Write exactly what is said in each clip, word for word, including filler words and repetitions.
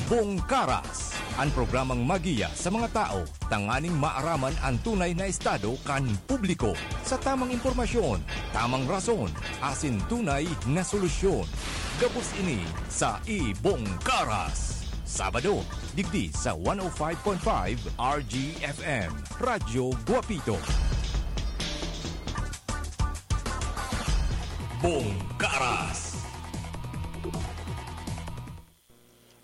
Bongkaras, an programang magiya sa mga tao tanganing maaraman an tunay na estado kan publiko. Sa tamang impormasyon, tamang rason, asin tunay na solusyon. Gabos ini sa Ibongkaras. Sabado, digdi sa one oh five point five R G F M, Radyo Guapito. Bongkaras.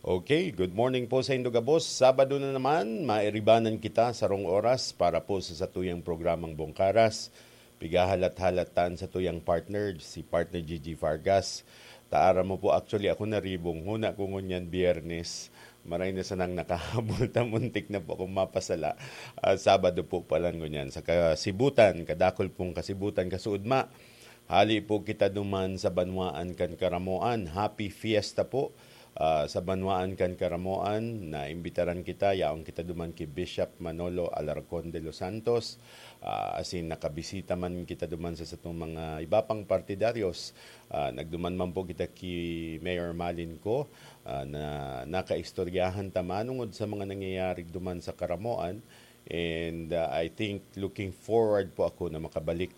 Okay, good morning po sa indo gabos. Sabado na naman, mairibanan kita sa rong oras para po sa satuyang programang Bongkaras. Pigahalat-halat tan sa tuyang partner, si partner Gigi Vargas. Taara mo po, actually, ako naribong. Huna ko ngunyan Biyernes. Maray na sanang nakahabol ta, muntik na po akong mapasala. Ah, Sabado po pala ngunyan. Sa kasibutan, kadakol pong kasibutan, kasuudma. Hali po kita duman sa banwaan kan Karamoan. Happy Fiesta po, ah, sa banwaan kan Karamoan. Naimbitaran kita, yaon kita duman ki Bishop Manolo Alarcon de los Santos. Ah, asin nakabisita man kita duman sa satong mga iba pang partidaryos. Ah, nagduman man po kita ki Mayor Malin ko, ah, na nakaistoryahan ta manungod sa mga nangyayari duman sa Karamoan. And, ah, I think looking forward po ako na makabalik,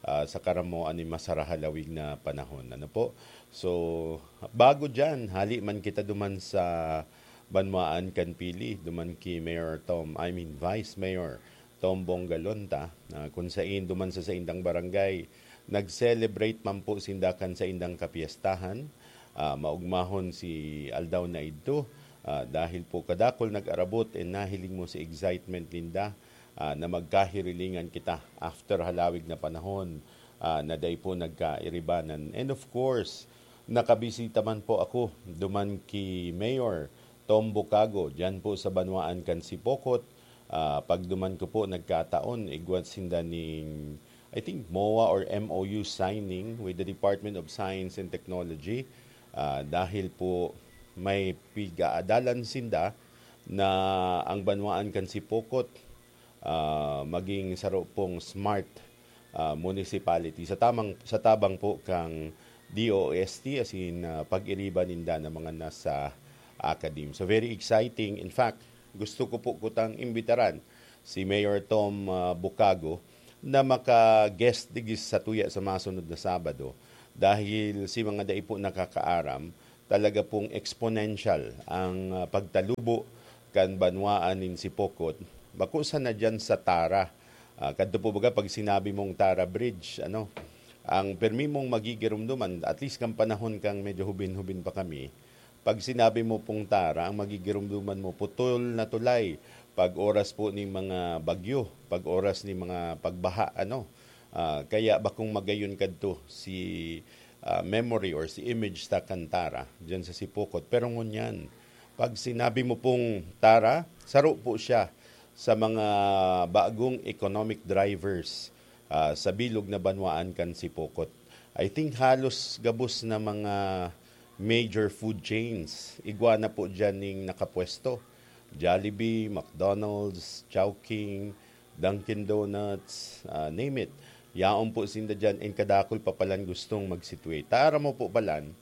ah, sa Karamoan ni masarahalawig na panahon. Ano po? So, bago dyan, hali man kita duman sa banwaan kan Pili, duman ki Mayor Tom, I mean, Vice Mayor Tom Bongalonta, na kung sain duman sa saindang barangay, nag-celebrate man po sinda kan saindang kapiestahan. Ah, maugmahon si aldaw na idto, ah, dahil po kadakol nag-arabot and nahiling mo si excitement ninda, ah, na magkahirilingan kita after halawig na panahon, ah, na dai po nagkairibanan. And of course, nakabisita man po ako duman ki Mayor Tom Bucago, dyan po sa banwaan kan Sipocot. Ah, pagduman ko po, nagkataon, igwa sinda ning, I think, MOA or M O U signing with the Department of Science and Technology. Ah, dahil po may pigaadalan sinda na ang banwaan kan Sipocot, ah, maging saro pong smart, ah, municipality. Sa tamang, sa tabang po kang D O S T, as in, ah, pag-iriba ninda ng mga nasa academe. So, very exciting. In fact, gusto ko po kutang imbitaran si Mayor Tom, ah, Bucago na maka-guest digdi sa tuya sa masunod na Sabado. Dahil si mga dai po nakakaaram, talaga pong exponential ang, ah, pagtalubo kan banwaan nin Sipocot. Bako sana dyan sa Tara. Ah, kadto po baga pag sinabi mong Tara Bridge, ano, ang permi mong magigirumduman, at least kan panahon kang medyo hubin-hubin pa kami, pag sinabi mo pong Tara, ang magigirumduman mo, putol na tulay. Pag oras po ning mga bagyo, pag oras ning mga pagbaha, ano, ah, kaya bakong magayon kadto si, ah, memory or si image ta kan Tara, dyan sa Sipocot. Pero ngunyan, pag sinabi mo pong Tara, saro po siya sa mga bagong economic drivers, ah, sa bilog na banwaan kan Sipocot. I think halos gabos na mga major food chains, igwa na po dyan ning nakapwesto. Jollibee, McDonald's, Chowking, Dunkin' Donuts, ah, name it. Yaon po sinda dyan, and kadakol pa palan gustong mag-situate. Tara mo po palan,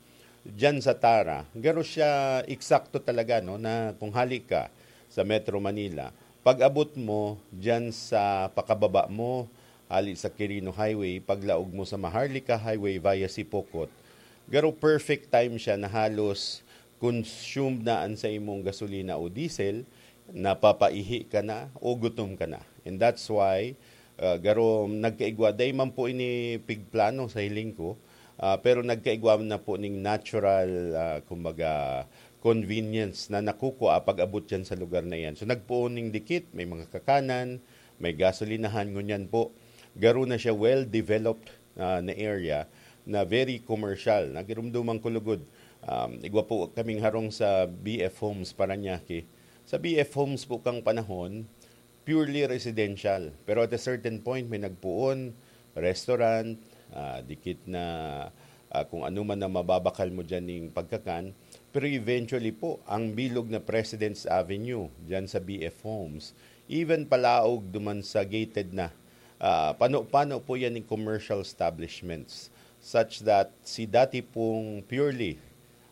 dyan sa Tara, garo siya eksakto talaga, no, na kung hali ka sa Metro Manila, pag-abot mo dyan sa pakababa mo, hali sa Quirino Highway, paglaog mo sa Maharlika Highway via Sipocot, garo perfect time siya na halos consumed na an sa imong gasolina o diesel, napapaihi ka na o gutom ka na. And that's why, ah, garo nagkaigwa, dai man po ini pigplano sa hiling ko, ah, pero nagkaigwa na po ning natural, ah, kumbaga, convenience na nakukua pag-abot dyan sa lugar na yan. So, nagpoon ning dikit, may mga kakanan, may gasolinahan, ngunyan po. Garo na siya well-developed, ah, na area na very commercial. Nagirumduman ko lugod. Um, igwa po kaming harong sa B F Homes, Parañaque. Sa B F Homes po kang panahon, purely residential. Pero at a certain point, may nagpoon, restaurant, ah, dikit na, ah, kung ano man na mababakal mo dyan ning pagkakan. Pero eventually po, ang bilog na President's Avenue, dyan sa B F Homes, even palaog duman sa gated na, ah, pano-pano po yan ng commercial establishments, such that si dati pong purely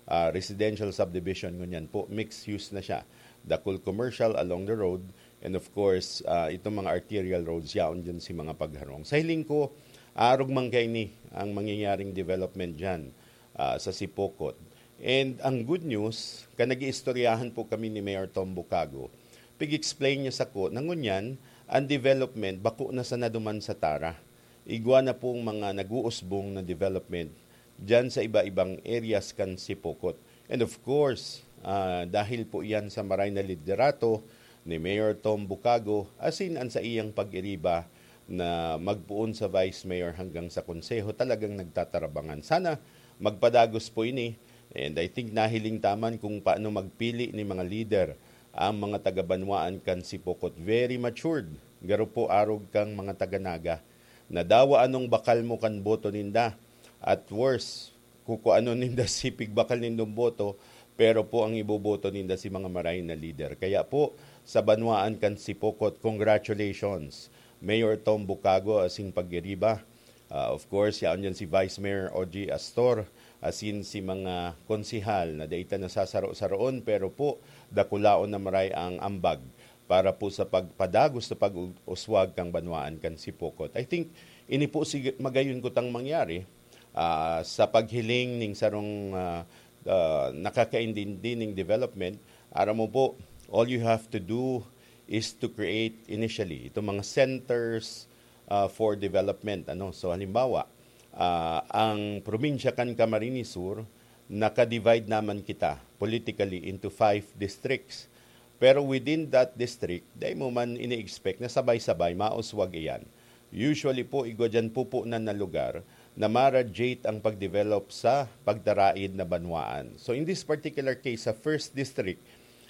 ah, residential subdivision ngunyan po, mixed use na siya. Dakul commercial along the road, and of course, ah, itong mga arterial roads, yaon dyan si mga pagharong. Sa hiling ko, arog man kaini ang mangyayaring development dyan, ah, sa Sipocot. And ang good news, ka nag-iistoryahan po kami ni Mayor Tom Bucago, pig-explain niya sako na ngunyan, ang development bako na sana duman sa Tara. Igwa na pong mga nag-uusbong na development diyan sa iba-ibang areas kan Sipocot. And of course, ah, dahil po iyan sa maray na liderato ni Mayor Tom Bucago, asin an saiyang pag-iriba na magpoon sa vice mayor hanggang sa konseho, talagang nagtatarabangan. Sana magpadagos po ini. And I think nahiling ta man kung paano magpili ni mga lider ang mga taga-banwaan kan Sipocot. Very matured. Garo po arog kang mga taga-Naga. Nadawa anong bakal mo kan boto ninda. At worse, kukuanon ninda si pigbakal nindong boto, pero po ang iboboto ninda si mga maray na lider. Kaya po, sa banwaan kan Sipocot, congratulations, Mayor Tom Bucago asin pag-iriba. Ah, of course, yaon dyan si Vice Mayor Ogie Astor, asin si mga konsehal na dai ta nasasaro-saroon, pero po, dakulaon na maray ang ambag para po sa pagpadagos na pag-uswag kang banwaan kan Sipocot. I think, ini po sig-, magayon kutang mangyari, ah, sa paghiling ning sarong, ah, ah, nakakaintindi ning development. Aram mo po, all you have to do is to create initially itong mga centers, ah, for development, ano. So, halimbawa, ah, ang probinsya kan Camarines Sur, naka-divide naman kita politically into five districts. Pero within that district, dai mo man ini-expect na sabay-sabay mauswag iyan. Usually po, igwa diyan pupunan na lugar na ma-radiate ang pagdevelop sa pagtaraid na banwaan. So, in this particular case, sa first district,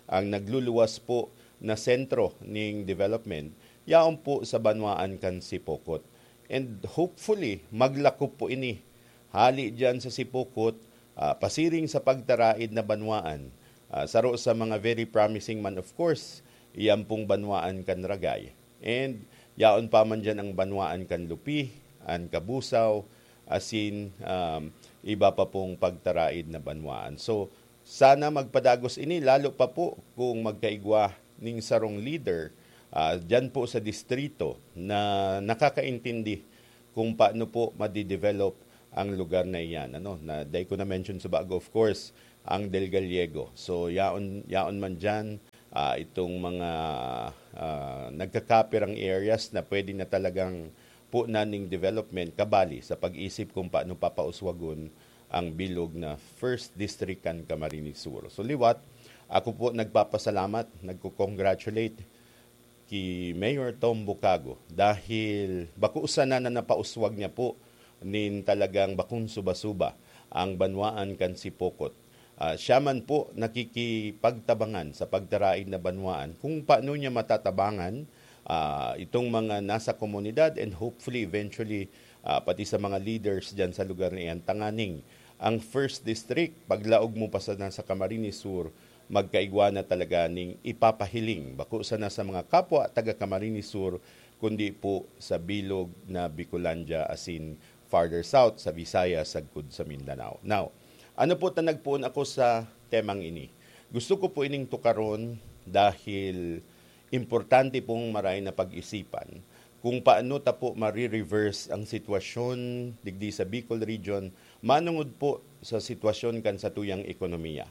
ang nagluluwas po na sentro ning development, yaon po sa banwaan kan Sipocot. And hopefully, maglakop po ini. Hali diyan sa Sipocot, ah, pasiring sa pagtaraid na banwaan. Ah, saro sa mga very promising man, of course, iyan pong banwaan kan Ragay. And yaon pa man diyan ang banwaan kan Lupi, an Kabusaw, asin, um, iba pa pong pagtaraid na banwaan. So, sana magpadagos ini, lalo pa po kung magkaigwa ning sarong leader, ah, diyan po sa distrito na nakakaintindi kung paano po madidevelop ang lugar na iyan, ano, na dai ko na-mention sa bago, of course, ang Del Gallego. So, yaon, yaon man diyan, ah, itong mga, ah, nagkakapirang areas na pwede na talagang punan ning development, kabali sa pag-isip kung paano papauswagon ang bilog na first district kan Camarines Sur. So, liwat, ako po nagpapasalamat, nagko-congratulate ki Mayor Tom Bucago dahil bako sana na napauswag niya po nin talagang bakong suba-suba ang banwaan kan Sipocot. Ah, siya man po nakikipagtabangan sa pagtaraid na banwaan kung paano niya matatabangan, ah, itong mga nasa komunidad and hopefully eventually, ah, pati sa mga leaders diyan sa lugar na iyan. Tanganing ang first district, paglaog mo pa sana sa Camarines Sur, magkaigwa na talaga ning ipapahiling, bako sana sa mga kapwa taga Camarines Sur, kundi po sa bilog na Bicolandia asin farther south sa Visayas sagkod sa Mindanao. Now, ano po ta nagpoon ako sa temang ini? Gusto ko po ining tukaron dahil importante pong maray na pag-isipan kung paano ta po mare-reverse ang sitwasyon digdi sa Bicol Region manungod po sa sitwasyon kan satuyang ekonomiya.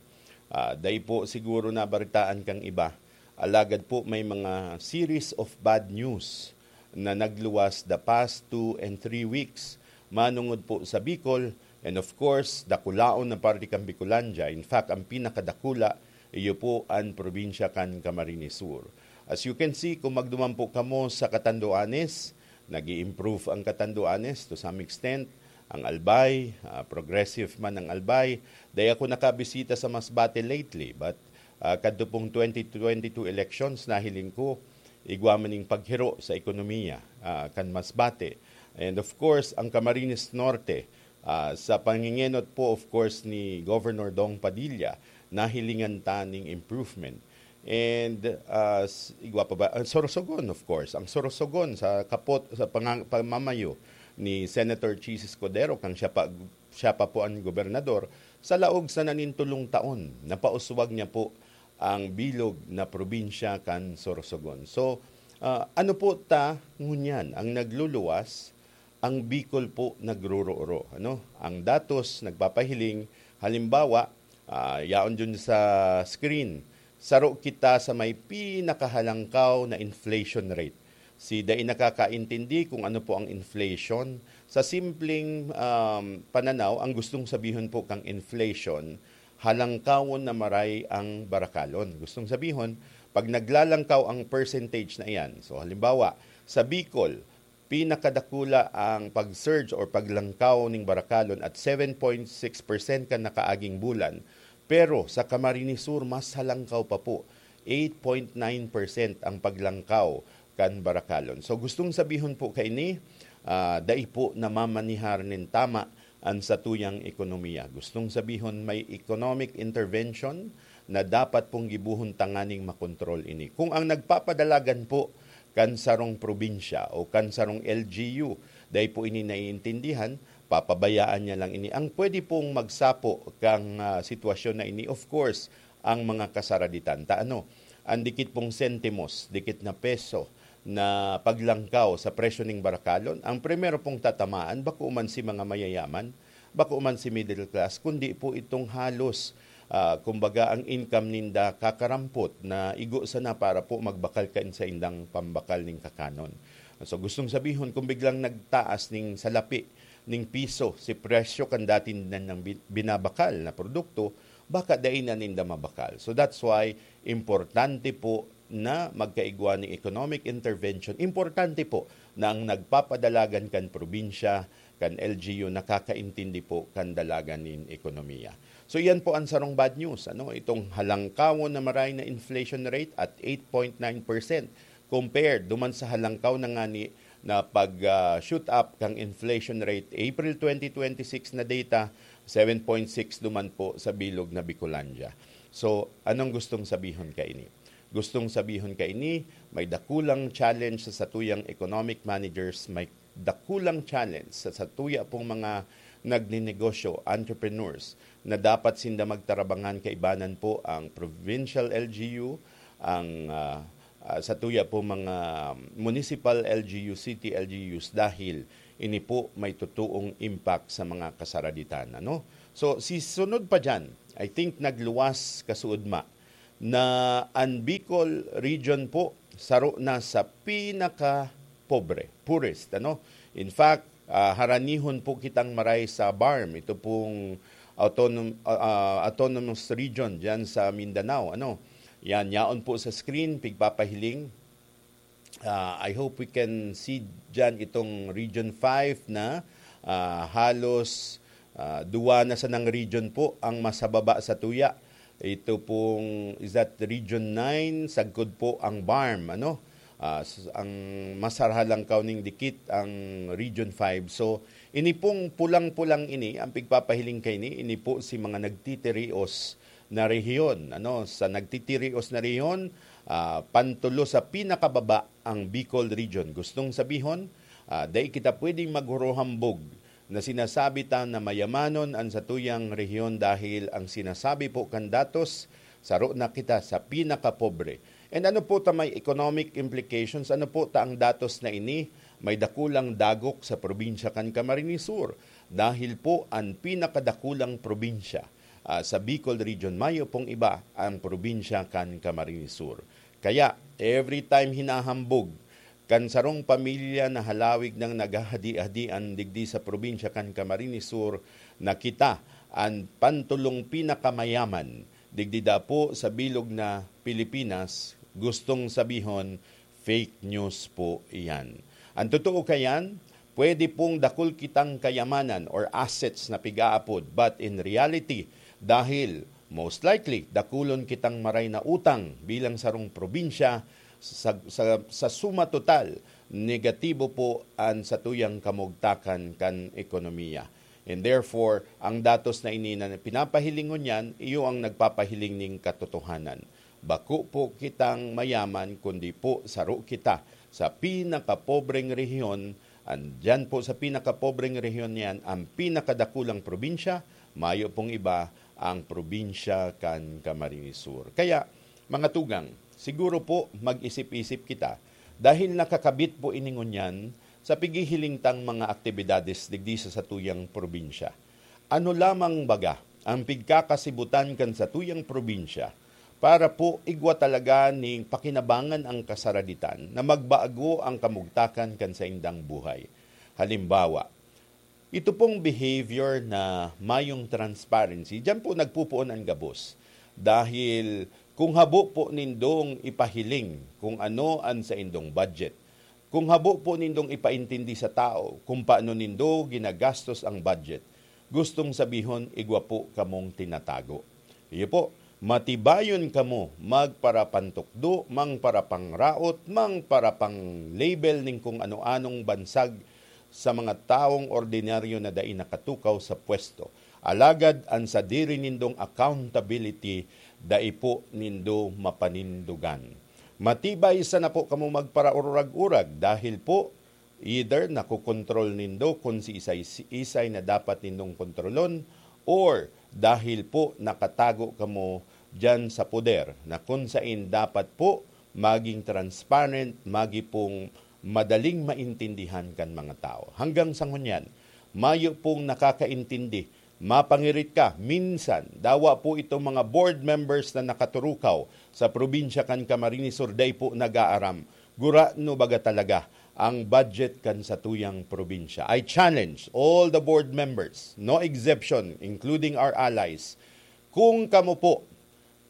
Ah, dai po siguro nabaritaan kang iba, alagad po may mga series of bad news na nagluwas the past two and three weeks manungod po sa Bicol, and of course, dakulaon na parte kan Bicolandia. In fact, ang pinakadakula, iyo po an probinsya kan Camarines Sur. As you can see, kung magduman po kamo sa Catanduanes, nag-i-improve ang Catanduanes to some extent. Ang Albay, ah, progressive man ang Albay. Dai ako nakabisita sa Masbate lately, but, ah, kadto pong twenty twenty-two elections, nahiling ko, igwa man ning paghiro sa ekonomiya, ah, kan Masbate. And of course, ang Camarines Norte, ah, sa pangingenot po, of course, ni Governor Dong Padilla, nahilingan ta ning improvement. And, ah, s-, igwa pa ba? Ang Sorsogon, of course. Ang Sorsogon sa kapot, sa pangang-, pamamayo ni Senator Chiz Escudero, kang siya pa, siya pa po ang gobernador, Sa laog sana nin tolong taon, napauswag niya po ang bilog na probinsya kan Sorsogon. So, ah, ano po ta ngunyan ang nagluluwas? Ang Bicol po nagruroro, ano? Ang datos nagpapahiling, halimbawa, ah, yaon dyan sa screen, saro kita sa may pinakahalangkaw na inflation rate. Si dai nakakaintindi kung ano po ang inflation. Sa simpleng, um, pananaw, ang gustong sabihon po kang inflation, halangkawon na maray ang barakalon. Gustong sabihon, pag naglalangkaw ang percentage na iyan, so halimbawa, sa Bicol, pinakadakula ang pag-surge or paglangkaw ning barakalon at seven point six percent kan nakaaging bulan, pero sa Camarines Sur, mas halangkaw pa po, eight point nine percent ang paglangkaw kan barakalon. So, gustong sabihon po kaini, ah, dai po namamanihar nin tama an satuyang ekonomiya. Gustong sabihon, may economic intervention na dapat pong gibohon tanganing makontrol ini. Kung ang nagpapadalagan po kan sarong probinsya o kan sarong L G U, dai po ini naiintindihan, papabayaan niya lang ini. Ang pwede pong magsapo kang, ah, sitwasyon na ini, of course, ang mga kasaraditan. Ta ano, ang dikit pong sentimos, dikit na peso na paglangkaw sa presyo ning barakalon, ang primero pong tatamaan, bako man si mga mayayaman, bako man si middle class, kundi po itong halos, ah, kumbaga, ang income ninda kakarampot na igo sana para po magbakal kan saindang pambakal ning kakanon. So, gustong sabihon, kung biglang nagtaas ning salapi ning piso si presyo kan dati nindang bi-, binabakal na produkto, baka dai na ninda mabakal. So, that's why importante po na magkaigwa ning economic intervention. Importante po na ang nagpapadalagan kan probinsya, kan L G U, nakakaintindi po kan dalagan nin ekonomiya. So, iyan po ang sarong bad news, ano? Itong halangkawon na maray na inflation rate at eight point nine percent compared duman sa halangkaw na ngani na pag, ah, shoot up kang inflation rate, April twenty twenty-six na data, seven point six duman po sa bilog na Bicolandia. So, anong gustong sabihon kaini? Gustong sabihon kaini, may dakulang challenge sa satuyang economic managers, may dakulang challenge sa satuya pong mga nagninegosyo, entrepreneurs, na dapat sinda magtarabangan kaibanan po ang provincial L G U, ang, ah, ah, satuya pong mga municipal L G U, city L G Us, dahil ini po may totoong impact sa mga kasaraditan, ano? So, si sunod pa diyan, I think nagluwas kasuodma na an Bicol region po saro na sa pinakapobre, poorest, ano? In fact, ah, haranihon po kitang maray sa BARMM, ito pong autonom-, ah, ah, autonomous region diyan sa Mindanao, ano? Yan, yaon po sa screen, pigpapahiling. Ah, I hope we can see diyan itong Region five na, ah, halos, ah, duwa na sanang region po ang mas hababa sa tuya. Ito pong, is that Region nine, sagkod po ang BARMM, ano? Ah, s-, ang mas harhalangkaw ning dikit ang Region five. So, ini pong pulang-pulang ini, ang pigpapahiling kaini, ini po si mga nagtitirios na rehiyon, ano? Sa nagtitirios na rehiyon, ah, pantulo sa pinakababa ang Bicol Region. Gustong sabihon, ah, dai kita pwedeng maghuruhambog na sinasabi ta na mayamanon an satuyang rehiyon dahil ang sinasabi po kan datos, saro na kita sa pinakapobre. And ano po ta may economic implications? Ano po ta ang datos na ini? May dakulang dagok sa probinsya kan Camarines Sur dahil po an pinakadakulang probinsya, ah, sa Bicol Region, mayo pong iba, ang probinsya kan Camarines Sur. Kaya, every time hinahambog kan sarong pamilya na halawig nang naghahadi-hadian digdi sa probinsya kan Camarines Sur, na kita an pantulong pinakamayaman digdi dapo sa bilog na Pilipinas, gustong sabihon, fake news po iyan. Ang totoo kayan, pwede pong dakul kitang kayamanan or assets na pig-aapod, but in reality, dahil most likely, dakulon kitang maray na utang bilang sarong probinsya, sa, sa, sa suma total, negatibo po an satuyang kamugtakan kan ekonomiya. And therefore, ang datos na ini na pinapahiling ngunyan, iyo ang nagpapahiling ning katotohanan. Bako po kitang mayaman, kundi po saro kita sa pinakapobreng rehiyon. Andiyan po sa pinakapobreng rehiyon niyan, ang pinakadakulang probinsya, Mayo pong iba ang probinsya kan Camarines Sur. Kaya, mga tugang, siguro po mag-isip-isip kita dahil nakakabit po ini ngunyan sa pighihiling tang mga aktibidades digdi sa satuyang probinsya. Ano lamang baga ang pigkakasibutan kan satuyang probinsya para po igwa talaga ning pakinabangan ang kasaraditan na magbago ang kamugtakan kan saindang buhay? Halimbawa, ito pong behavior na mayong transparency, diyan po nagpupuon an gabos. Dahil kung habo po nindong ipahiling kung ano an saindong budget, kung habo po nindong ipaintindi sa tao kung paano nindo ginagastos ang budget, gustong sabihon, igwa po kamong tinatago. Iyo po, matibayon kamo magparapantukdo, mangparapangraot, mangparapang-label ning kung ano-anong bansag sa mga tawong ordinaryo na dai nakatukaw sa pwesto. Alagad an sadiri nindong accountability, dai po nindo mapanindugan. Matibay sana po kamo magparaurag-urag dahil po either nakokontrol nindo kun siisay-isay na dapat nindong kontrolon, or dahil po nakatago kamo diyan sa poder na kun sain dapat po maging transparent, magi pong madaling maintindihan kan mga tao. Hanggang sa ngunyan, mayo pong nakakaintindi. Mapangirit ka, minsan, dawa po itong mga board members na nakaturukaw sa probinsya kan Camarines Sur, dai po nag-aaram. Gurano baga talaga ang budget kan satuyang probinsya? I challenge all the board members, no exception, including our allies, kung kamo po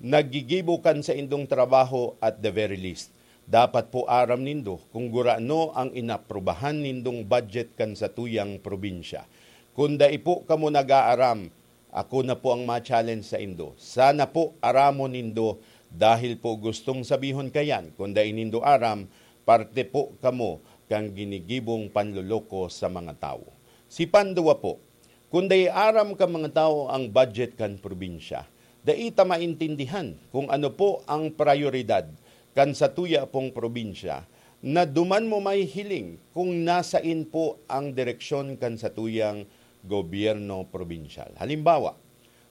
naggigibo kan saindong trabaho, at the very least, dapat po aram nindo kung gurano ang inaprubahan nindong budget kan satuyang probinsya. Kun dai po kamo nag-aaram, ako na po ang ma-challenge saindo. Sana po aramon nindo, dahil po gustong sabihon kayan, kun dai nindo aram, parte po kamo kan ginigibong panloloko sa mga tawo. Si pandua po, kun dai aram kan mga tawo ang budget kan probinsya, dai ta maintindihan kung ano po ang prayoridad kan satuya pong probinsya, na duman mo mahihiling kung nasain po ang direksyon kan satuyang gobyerno probinsyal. Halimbawa,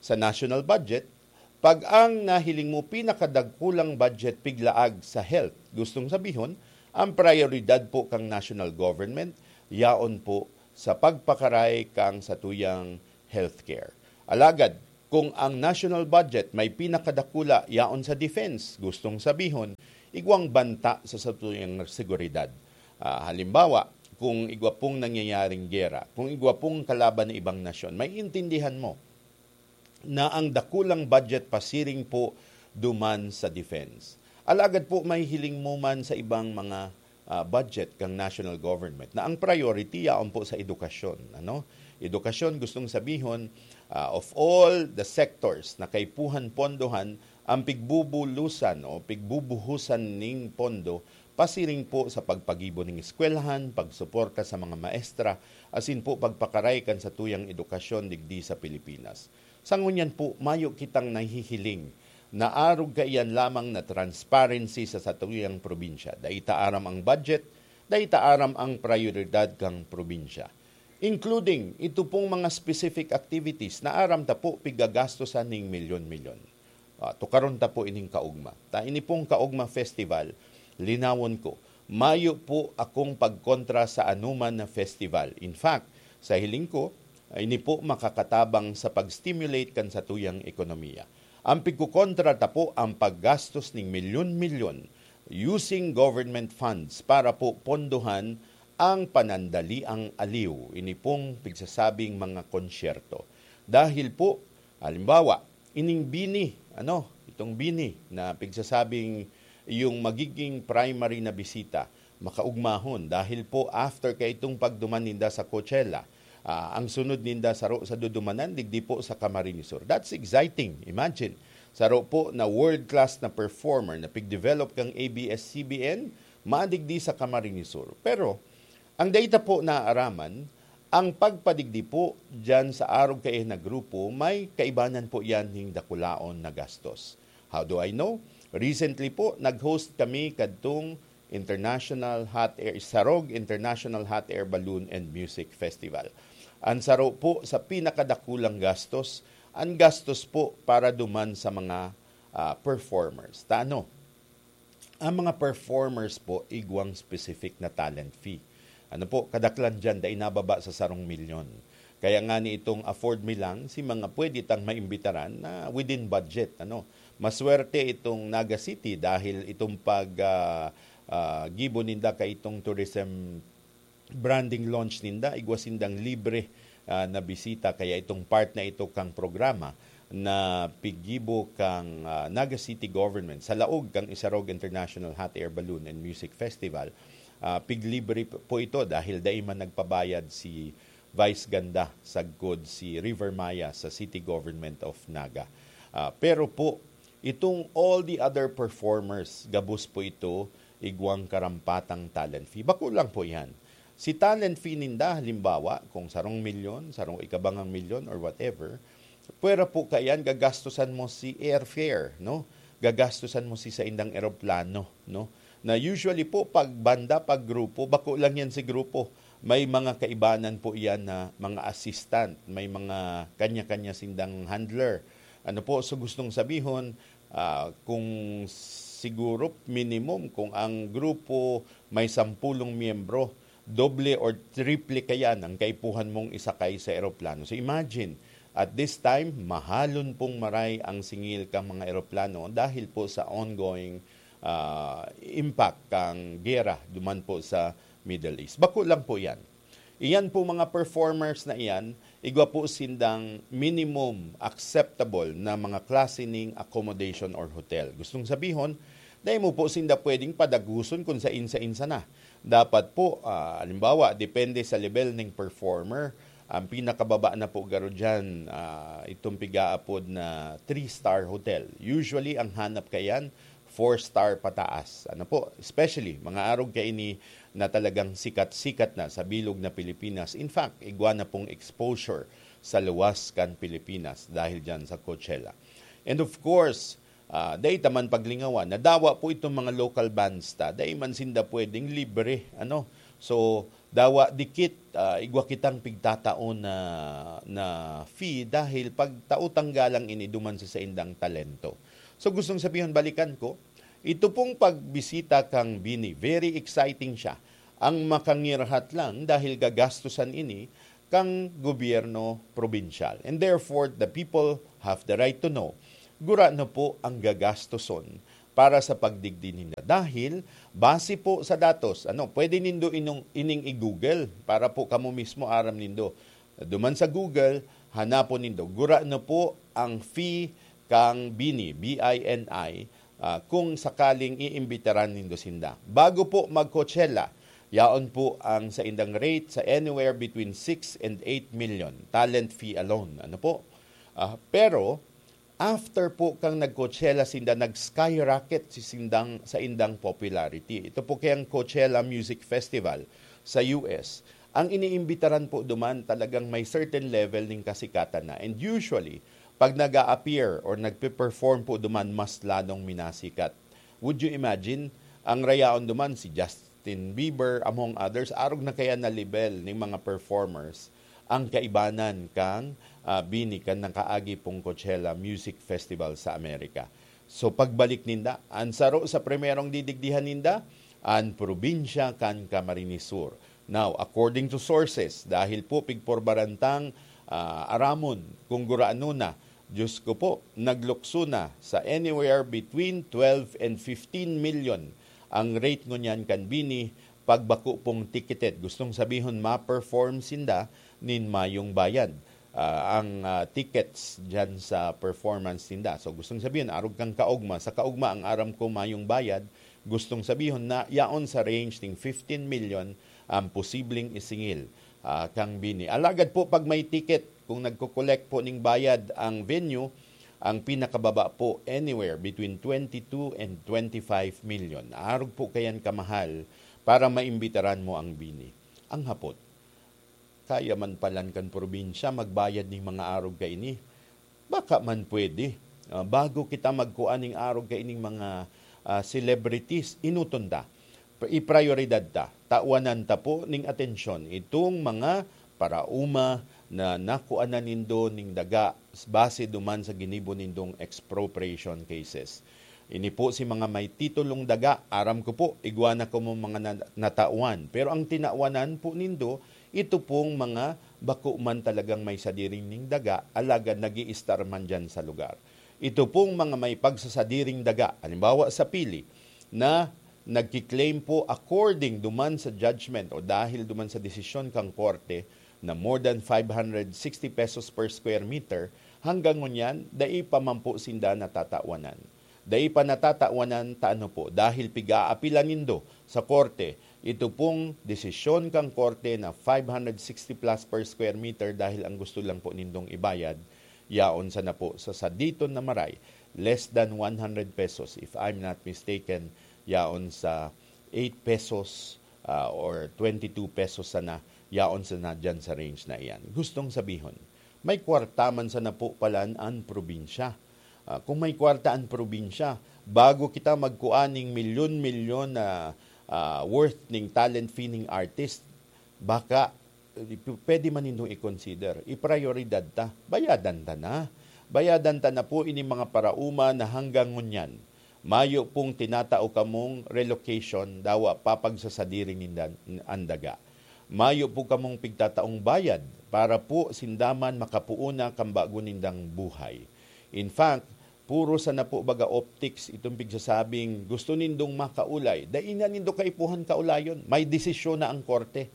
sa national budget, pag ang nahiling mo pinakadakulang budget piglaag sa health, gustong sabihon, ang prayoridad po kan national government, yaon po sa pagpakaray kan satuyang healthcare. Alagad, kung ang national budget may pinakadakula yaon sa defense, gustong sabihon, igwang banta sa satuyang seguridad. Ah, halimbawa, kung igwa pong nangyayaring gera, kung igwa pong kalaban na ibang nasyon, maiintindihan mo na ang dakulang budget pasiring po duman sa defense. Alagad po, mahihiling mo man sa ibang mga, ah, budget kang national government na ang priority yaon po sa edukasyon, ano? Edukasyon, gustong sabihon, ah, of all the sectors na kaipuhan pondohan, ang pigbubulusan o pigbubuhusan ning pondo pasiring po sa pagpagibo ning eskwelahan, pagsuporta sa mga maestra, asin po pagpakaray kan satuyang edukasyon digdi sa Pilipinas. Sa ngunyan po, mayo kitang nahihiling na arog kaiyan lamang na transparency sa satuyang probinsya. Dai ta aram ang budget, dai ta aram ang prayoridad kan probinsya. Including ito pong mga specific activities na aram ta po pigagastosan ning milyon-milyon. Ah, tukaron ta po ining kaogma. Ta ini pong Kaogma Festival, linawon ko, mayo po akong pagkontra sa anoman na festival. In fact, sa hiling ko, ini po makakatabang sa pag-stimulate kan satuyang ekonomiya. Ang pigkokontra ta po ang paggastos ning milyon-milyon using government funds para po pondohan ang panandaliang aliw, ini pong pigsasabing mga konsyerto. Dahil po, halimbawa, ining BINI, ano, itong BINI na pigsasabing yung magiging primary na bisita, makaugmahon. Dahil po, after kaitong pagduman ninda sa Coachella, ah, ang sunod ninda saro sa dudumanan, digdi po sa Camarines Sur. That's exciting. Imagine, saro po na world-class na performer na pig-develop kang A B S C B N, madigdi sa Camarines Sur. Pero, ang dai ta po naaaraman, ang pagpadigdi po diyan sa arog kaiyan na grupo, may kaibanan po yan ning dakulaon na gastos. How do I know? Recently po, nag-host kami kadtong International Hot Air, Sarog International Hot Air Balloon and Music Festival. An saro po sa pinakadakulang gastos, an gastos po para duman sa mga, ah, performers. Ta ano? Ang mga performers po, igwang specific na talent fee. Ano po, kadaklan diyan, dai nababa sa sarong milyon. Kaya nga ni itong afford mi lang si mga pwede tang maimbitaran na within budget, ano. Maswerte itong Naga City dahil itong pag, ah, ah, gibo ninda kaitong tourism branding launch ninda, igwa sindang libre, ah, na bisita. Kaya itong part na ito kang programa na piggibo kang, ah, Naga City Government sa laog kang Isarog International Hot Air Balloon and Music Festival, ah, piglibre po ito dahil dai man nagpabayad si Vice Ganda sagkod si River Maya sa City Government of Naga. Ah, pero po, itong all the other performers, gabos po ito igwang karampatang talent fee. Bako lang po yan. Si talent fee ninda, halimbawa, kung sarong milyon, sarong ikabangang milyon or whatever, pwera po kaiyan gagastusan mo si airfare, no? Gagastusan mo si saindang eroplano, no? Na usually po, pag banda, pag grupo, bako lang yan si grupo. May mga kaibanan po yan na mga assistant, may mga kanya-kanya sindang handler. Ano po, so gustong sabihon, ah, kung siguro minimum, kung ang grupo may sampulong miyembro, doble or triple kayan ang kaipuhan mong isakay sa eroplano. So imagine, at this time, mahalon pong maray ang singil kang mga eroplano dahil po sa ongoing, ah, impact kang gera duman po sa Middle East. Bako lang po yan. Iyan po mga performers na iyan, igwa po sindang minimum acceptable na mga klase ning accommodation or hotel. Gustong sabihon, dai mo po sinda pwedeng padaguson kung sain-sain sana. Dapat po, ah, halimbawa, depende sa level ning performer, ang pinakababa na po garo diyan, ah, itong pigaapod na three-star hotel. Usually, ang hanap kayan, four-star pataas. Ano po, especially, mga arog kaini na talagang sikat-sikat na sa bilog na Pilipinas. In fact, igwa na pong exposure sa luwas kan Pilipinas dahil diyan sa Coachella. And of course, ah, dai ta man paglingawan na dawa po itong mga local bands ta, dai man sinda pwedeng libre, ano. So, dawa dikit, ah, igwa kitang pigtataon na, na fee dahil pagtautang galang ini duman sa saindang talento. So, gustong sabihon, balikan ko, ito pong pagbisita kang Bini, very exciting siya. Ang makangirhat lang dahil gagastusan ini kang gobyerno probinsyal. And therefore, the people have the right to know, gurano po ang gagastoson para sa pagdigdi ninda. Dahil, base po sa datos, ano, pwede nindo inong, ining i-Google para po kamo mismo aram nindo. Duman sa Google, hanapon nindo. Gurano po ang fee kang Bini, B I N I, ah, kung sakaling iimbitaran nindo sinda. Bago po mag-Coachella, yaon po ang saindang rate sa anywhere between six and eight million, talent fee alone. Ano po? Ah, pero, after po kang nag-Coachella sinda, nag-skyrocket si sindang, saindang popularity. Ito po kayang Coachella Music Festival sa U S. Ang iniimbitaran po duman, talagang may certain level ning kasikatan na. And usually, pag nag-a-appear or nagpe-perform po duman, mas lalong minasikat. Would you imagine, ang rayaon duman, si Justin Bieber, among others, arog na kaya na level ning mga performers, ang kaibanan kang, ah, Bini, kan nakaagi pong Coachella Music Festival sa Amerika. So, pagbalik ninda, an saro sa primerong didigdihan ninda, an probinsya kan Camarines Sur. Now, according to sources, dahil po pigporbaran tang, ah, aramon kung gurano na, Diyos ko po, naglukso na sa anywhere between twelve and fifteen million ang rate ngunyan kan Bini pag bako pong ticketed. Gustong sabihon, ma-perform sinda nin mayong bayad, ah, ang, ah, tickets diyan sa performance ninda. So, gustong sabihin, arog kang kaugma. Sa kaugma, ang aram ko mayong bayad, gustong sabihon na yaon sa range ning fifteen million ang posibleng isingil, ah, kang Bini. Alagad po, pag may ticket, kung nagko-collect po ning bayad ang venue, ang pinakababa po, anywhere between twenty-two and twenty-five million. Arog po kayan kamahal para maimbitaran mo ang Bini. Ang hapot, kaya man palan kan probinsya magbayad ning mga arog kaini? Baka man pwede, ah, bago kita magkua ning arog kaining mga, ah, celebrities, enoton ta, iprayoridad ta, tawanan ta po ning atensyon itong mga paraoma na nakuanan nindo ning daga base duman sa ginibo nindong expropriation cases. Ini po si mga may titulong daga, aram ko po, igwa na kamo mga na-, natawan. Pero ang tinawanan po nindo, ito pong mga bako man talagang may sadiri ning daga, alagad nag-iistar man dyan sa lugar. Ito pong mga may pagsasadiring daga, halimbawa sa Pili, na nagki-claim po according duman sa judgment o dahil duman sa desisyon kang korte na more than five hundred sixty pesos per square meter, hanggang ngunyan, dai pa man po sinda natatawanan. Dai pa natatawanan ta ano po, dahil pig-aapilan nindo sa korte, ito pong desisyon kang korte na five hundred sixty plus per square meter dahil ang gusto lang po nindong ibayad, yaon sana po sa saditon na maray, less than one hundred pesos, if I'm not mistaken, yaon sa eight pesos, ah, or twenty-two pesos sana, yaon sana dyan sa range na iyan. Gustong sabihon, may kwarta man sana po palan an probinsya. Ah, kung may kwarta an probinsya, bago kita magkuan ning milyon-milyon na, ah, worth ning talent fee ning artist, baka, eh, p-, pwede man nindong i-consider. Iprayoridad ta. Bayadan ta na. Bayadan ta na po ini mga paraoma na hanggang ngunyan. Mayo pong tinatao kamong relocation, dawa pa pagsasadiri ninda an daga. Mayo po kamong pigtataong bayad para po sinda man makapoon na kan bago nindang buhay. In fact, puro sana po baga optics itong pigsasabing gusto nindong makaulay. Dai na nindo kaipuhan kaulayon. May desisyon na ang korte.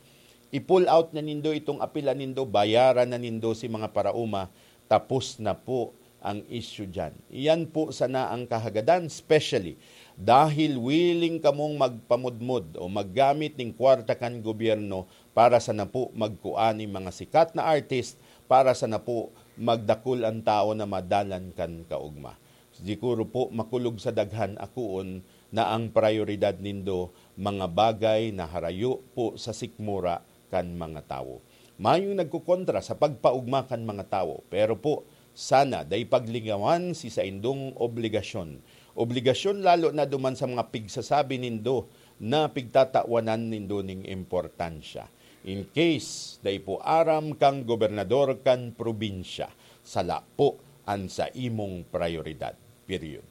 I-pull out na nindo itong apila nindo, bayaran na nindo si mga paraoma, tapos na po ang issue dyan. Iyan po sana ang kahagadan, especially dahil willing kamong magpamudmod o maggamit ning kwarta kan gobyerno para sana po magkuan ning mga sikat na artist, para sana po magdakul an tao na madalan kan kaogma. Siguro po makulog sa daghan akoon na ang prayoridad nindo mga bagay na harayo po sa sikmura kan mga tawo. Mayong nagkokontra sa pagpaogma kan mga tawo, pero po, sana dai paglingawan si saindong obligasyon. Obligasyon lalo na duman sa mga pigsasabi nindo na pigtatawanan nindo ning importansya. In case dai po aram kang gobernador kan probinsya, sala po an sa imong prayoridad. Period.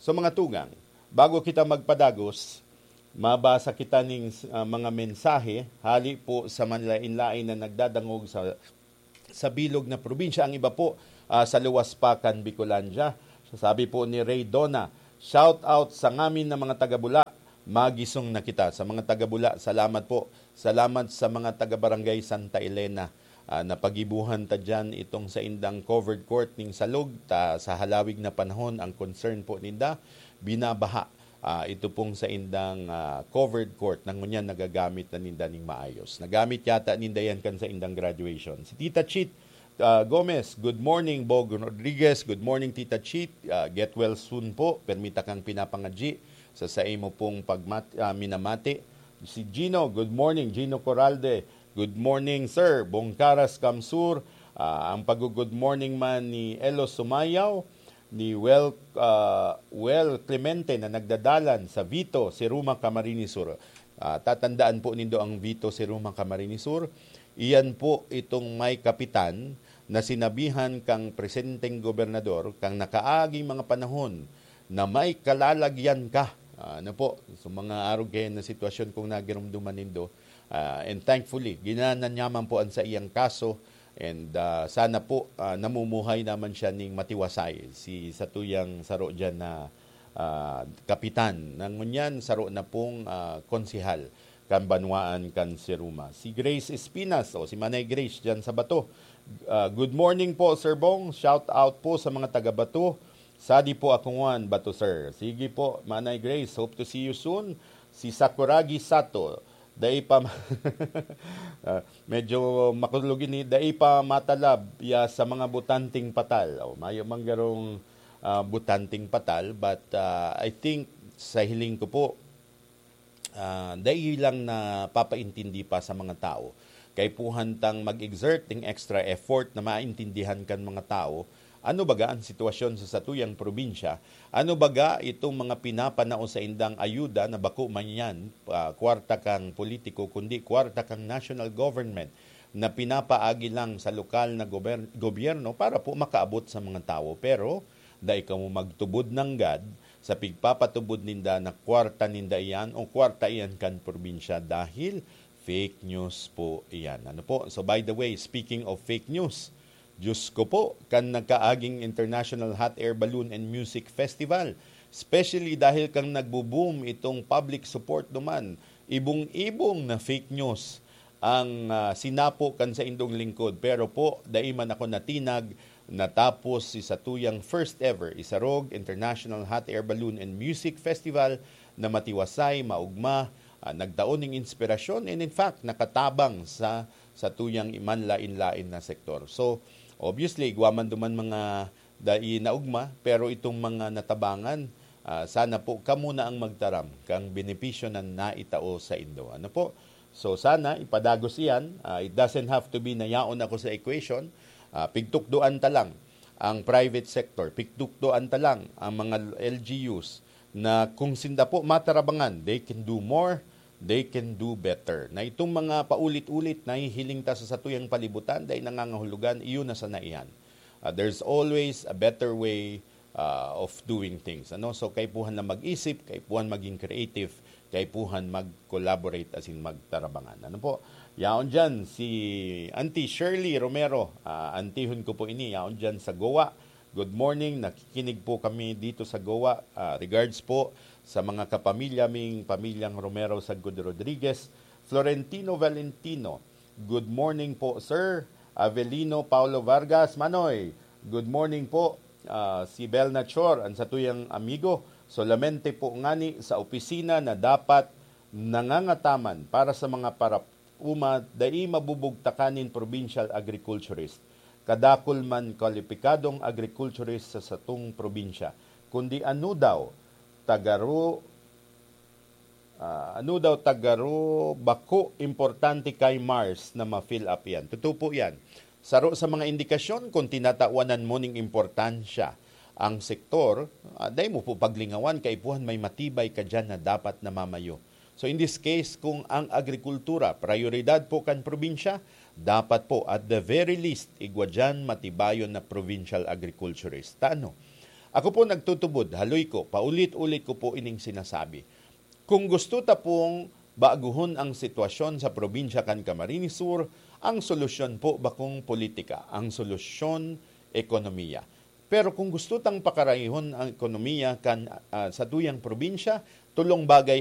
So, mga tugang, bago kita magpadagos, mabasa kita ning, ah, mga mensahe hali po sa manlain-lain na nagdadangog sa, sa bilog na probinsya. Ang iba po, ah, sa luwas pa kan Bicolandia. Sabi po ni Ray Dona, "Shout out sa ngamin na mga taga-Bula. Magisong na kita." Sa mga taga-Bula, salamat po. Salamat sa mga taga-Barangay Santa Elena. Ah, napagibuhan ta diyan itong saindang covered court ning Salog, ta sa halawig na panahon ang concern po ninda, binabaha, ah, ito pong saindang, ah, covered court na ngunyan nagagamit na ninda ning maayos. Nagamit yata ninda yan kan saindang graduation. Si Tita Chit, ah, Gomez, "Good morning, Bog Rodriguez." Good morning, Tita Chit. Ah, get well soon po. Permita kang pinapangadyi sa saimo pong pagmat-, ah, minamati. Si Gino, "Good morning." Gino Coralde, "Good morning, sir." Bongkaras Kamsur, ah, ang pag-good morning man ni Elo Sumayaw, ni Wel, ah, Wel Clemente na nagdadalan sa Vito, Siruma, Camarines Sur. Ah, tatandaan po nindo ang Vito, Siruma, Camarines Sur. Iyan po itong may kapitan na sinabihan kang presenteng gobernador, kang nakaaging mga panahon, na may kalalagyan ka. Ah, ano po, sa mga arog kayan na sitwasyon kung nagirumduman nindo. Ah, and thankfully, ginanan niya man po ang saiyang kaso. And, ah, sana po, ah, namumuhay naman siya ning matiwasay. Si satuyang saro dyan na, ah, kapitan. Ngunyan, saro na pong, ah, konsehal kan banwaan kan Siruma. Si Grace Espinas, o si Manay Grace dyan sa Bato. Ah, "Good morning po, Sir Bong. Shout out po sa mga taga Bato. Sadi po ako ngwan, Bato, sir." Sige po, Manay Grace. Hope to see you soon. Si Sakuragi Sato, dai pa ma-, ah, medyo makulog ini, "Dai pa matalab ya sa mga botanteng patal." Oh, mayo man garong, ah, botanteng patal, but, ah, I think sa hiling ko po, ah, dai lang napapaintindi pa sa mga tao. Kaipuhan tang mag-exert ning extra effort na maintindihan kan mga tao ano baga ang sitwasyon sa satuyang probinsya, ano baga itong mga pinapanao saindang ayuda na bako man yan, ah, kwarta kang politiko, kundi kwarta kang national government. na pinapaagi lang sa lokal na gober-, gobyerno para po makaabot sa mga tawo. Pero dai kamo magtubod nanggad sa pigpapatubod ninda na kwarta ninda iyan o kwarta iyan kan probinsya, dahil fake news po iyan. Ano po? So, by the way, speaking of fake news, Diyos ko po, kan nagkaaging International Hot Air Balloon and Music Festival, especially dahil kang nagbo-boom itong public support duman, ibong-ibong na fake news ang, ah, sinapo kan saindong lingkod. Pero po, dai man ako natinag natapos si satuyang first ever Isarog International Hot Air Balloon and Music Festival na matiwasay, maugma, ah, nagtao ning inspirasyon, and in fact, nakatabang sa satuyang iman lain-lain na sektor. So, obviously, igwa man duman mga dai naugma, pero itong mga natabangan, ah, sana po kamo na ang magtaram kang benepisyo na naitao saindo. Ano po? So, sana ipadagos iyan. Ah, it doesn't have to be na yaon ako sa equation. Ah, pigtukdoan ta lang ang private sector, pigtukdoan ta lang ang mga L G Us na kung sinda po matarabangan, they can do more, they can do better. Na itong mga paulit-ulit na hihiling ta sa satuyang palibutan, dai nangangahulugan, iyon na sana iyan. Ah, there's always a better way, ah, of doing things. Ano? So, kaipuhan na mag-isip, kaipuhan maging creative, kaipuhan mag-collaborate asin magtarabangan. Ano po? Yaon dyan si Auntie Shirley Romero. Ah, antihon ko po ini. Yaon dyan sa Goa. Good morning. Nakikinig po kami dito sa Goa. Ah, regards po sa mga kapamilya ming pamilyang Romero Sagud Rodriguez. Florentino Valentino. Good morning po, sir. Avelino Paulo Vargas, Manoy. Good morning po. Ah, si Bel Nachor, ang satuyang amigo. Solamente po ngani sa opisina na dapat nangangataman para sa mga parauma, dai mabubugtakan nin provincial agriculturist. Kadakul man kwalipikadong agriculturist sa satong probinsya. Kundi ano daw, tagaro, ah, ano daw, tagaro, bako importante kay Mars na ma-fill up yan. Totoo po yan. Saro sa mga indikasyon kung tinatawanan mo ning importansya ang sektor, ah, dai mo po paglingawan, kaipuhan may matibay ka dyan na dapat namamayo. So, in this case, kung ang agrikultura, prayoridad po kan probinsya, dapat po, at the very least, igwa dyan matibayon na provincial agriculturist. Ta ano? Ako po nagtutubod, haloy ko, paulit-ulit ko po ining sinasabi. Kung gusto ta pong baguhon ang sitwasyon sa probinsya kan Camarines Sur, ang solusyon po bakong politika, ang solusyon ekonomiya. Pero kung gusto tang pakarayhon ang ekonomiya kan, ah, satuyang probinsya, tolong bagay